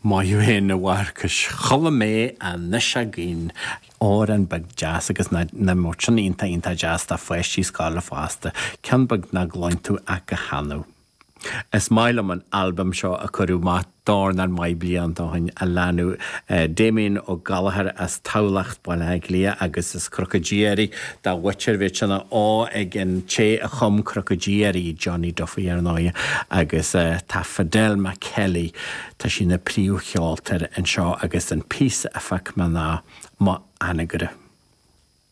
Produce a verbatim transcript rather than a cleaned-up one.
Maith thú fhéin a Mharcais. Chuala mé anois againn amhrán beag deas agus na na sin iontach iontach deas do pháistí scoile fosta, ceann beag nach gcluin tú ach go hannamh. Is maith liom an albam seo a cuireadh amach dornán maith blianta ó shin a leanadh eh, Damien Ó Gallchóir as Tamhlacht Baile Átha Cliath agus is crocodíirí dá bhhuitir bhí sinna á ag an té a chum crocodíirí Johnny Duffy ar ndóigh agus uh, tá Fidelma Kelly tá sí na príomhcheoltóir anseo agus an píosa a phiocadh mé ná Mo Anagaire.